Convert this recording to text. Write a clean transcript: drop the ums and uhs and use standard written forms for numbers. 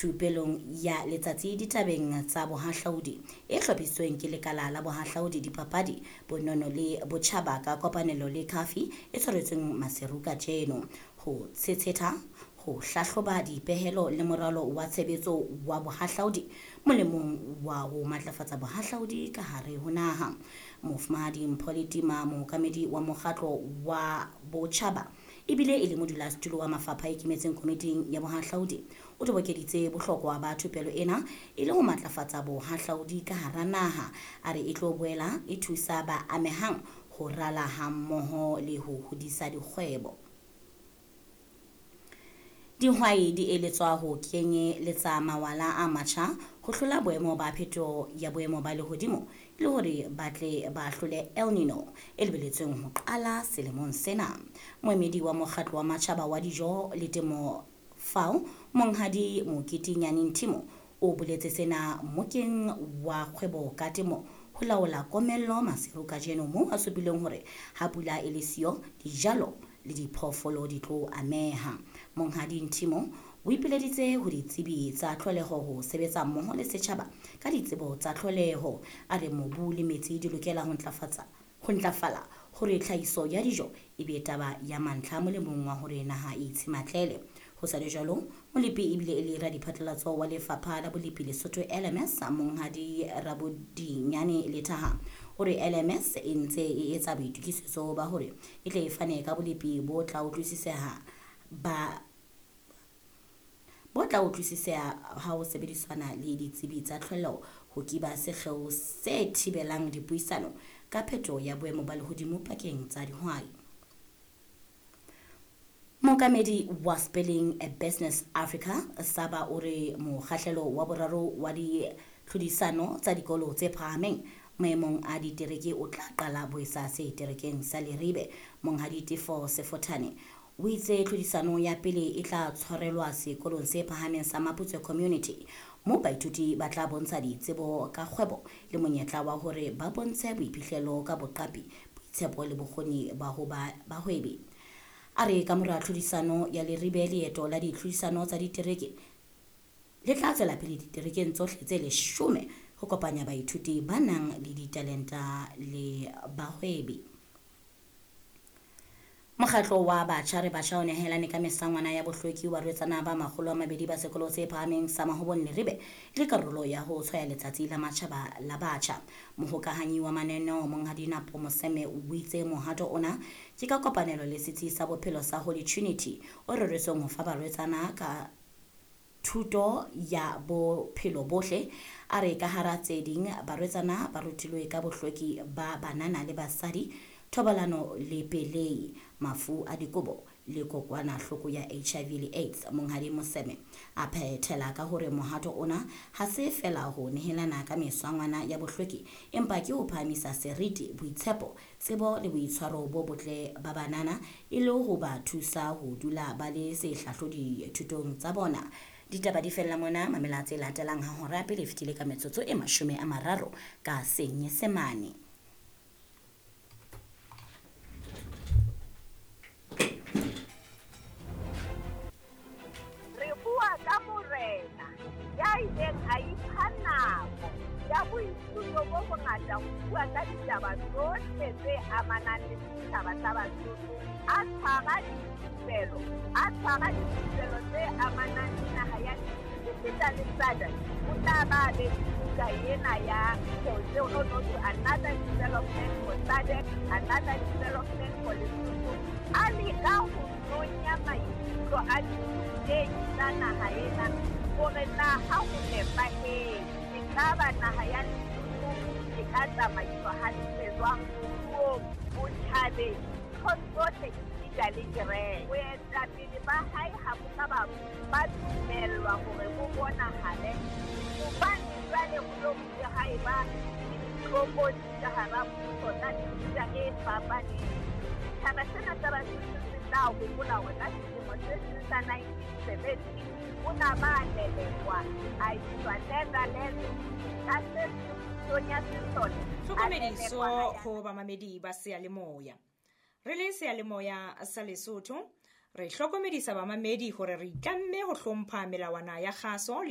Thupelong ya letsatsi ditabeng tsa bohahlaudi e hlophisitsweng ke lekala la bohahlaudi dipapadi bonono le botjhaba ka kopanelo le Khafi e tshwaretsweng Maseru kajeno ho tshetshetha ho hlahloba dipehelo le moralo wa tshebetso wa bohahlaudi molemong wa ho matlafatsa bohahlaudi ka hare ho naha. Mofumahadi Mpho Letima, mookamedi wa mokgatlo wa botjhaba ebile e le modulasetulo wa mafapha a ikemetseng komiting ya bohahlaudi, o tobokeditse bohlokwa ba thupelo ena e le ho matlafatsa bohahlaudi ka hara naha. A re e tlo boela e thusa ba amehang ho rala hammoho le ho hodisa dikgwebo. Dihwai di eletswa ho kenyeletsa mawala a matjha ho hlola boemo ba phetoho ya boemo ba lehodimo e le hore ba tle ba hlole El Nino e lebeletsweng ho qala selemong sena. Moemedi wa mokgatlo wa matjhaba wa dijo le temo FAO, Monghadi Mokete Nyane Nthimo, o boletse sena mmokeng wa kgwebo ka temo ho laola komello Maseru kajeno, moo a supileng hore ha pula e le siyo, dijalo le diphoofolo di tlo ameha. Monghadi Nthimo o ipileditse ho ditsebi tsa tlholeho ho sebetsa mmoho le setjhaba ka ditsebo tsa tlholeho. A re mobu le metsi di lokela ho ntlafatsa ho ntlafala hore tlhahiso ya dijo e be taba ya mantlha molemong wa hore naha e itshematlele. Ho sa le jwalo, molepi ebile e le radiphatlalatso wa lefapha la bolepi Lesotho LMS, Monghadi Rabodinyane Lethaha, o re LMS e ntse e etsa boitokisetso ba hore e tle e fane ka bolepi bo tla utlwisiseha ba bo tla utlwisiseha ha ho sebedisana le ditsebi tsa tlholeho ho kiba sekgeo se thibelang dipuisano ka phetoho ya boemo ba lehodimo pakeng tsa dihwai. Mookamedi wa Spelling a Business Africa Saba o re mokgahlelo wa boraro wa ditlhodisano tsa dikolo tse phahameng maemong a ditereke o tla qala boesa seterekeng sa Leribe. Monghadi Tefo Sefothane o itse tlhodisano ya pele e tla tshwarelwa sekolong se phahameng sa Maputswe Community, moo baithuti ba tla bontsha ditsebo ka kgwebo le monyetla wa hore ba bontshe boiphihlelo ka boqapi, boitshepo le bokgoni ba ho ba bahwebi. A re ka mora tlhodisano ya Leribe, leeto la ditlhodisano tsa ditereke le tla tswela pele diterekeng tsohle tse 10 ho kopanya baithuti ba nang le ditalenta le bahwebi. Mokgatlo wa Batjha Re Batjha o nehelane ka mesangwana ya bohlweki ho barwetsana ba 200 ba sekolo se phahameng sa Mahobong Leribe e le karolo ya ho tshwaya letsatsi la matjhaba la batjha. Mohokahanyi wa mananeo Monghadi Napo Moseme o itse mohato ona ke ka kopanelo le setsi sa bophelo sa Holy Trinity o reretsweng ho fa barwetsana ka thuto ya bophelo bohle. A re ka hara tse ding barwetsana ba rutilwe ka bohlweki ba banana le basadi, thobalano le pelei, mafu a dikobo le kokwanahloko ya HIV le AIDS. Monghadi Moseme a phethela ka hore mohato ona ha se fela ho nehelana ka meswangwana ya bohlweki, empa ke ho phahamisa seriti, boitshepo, tsebo le boitshwaro bo botle ba banana e le ho ba thusa ho dula ba le sehlahlodi thutong tsa bona. Ditaba di fella mona, mamela tse latelang ha hora pele e fetile ka metsotso e 30 ka Senyesemane. Re bua ka morena ya ileng a ipha nako ya boithuto bo bongata ho bua ka ditaba tsohle tse amanang le setjhaba sa Basotho, a tshwara dithupelo, a tshwara dithupelo tse amanang le naha ya esita le SADC. O tla ba be buka ena ya no no to another development for SADC, another development for Lesotho. A leka ho nonya maikutlo a dithutehi tsa naha ena hore na ha ho nepahetse, ekaba naha ya Lesotho e ka tsamaiswa hantle jwang moruong, botjhabeng, nthong tsohle esita le kereke. Boetapele ba hae ha bo ka ba dumellwa hore bo bonahale hobane jwale ho lo bile ha eba le ditlokotsi ka hara mmuso tsa mefuta e fapaneng. Setjhaba sena sa Basotho se tla hopola hore ka selemo se seng sa 1970 o na ba lelekwa a iswa Netherlands ka se pusong ya sesole. Tlhokomediso ho bamamedi ba seyalemoya. Re le seyalemoya sa Lesotho, re hlokomedisa bamamedi hore re itlamme ho hlompha melawana ya kgaso le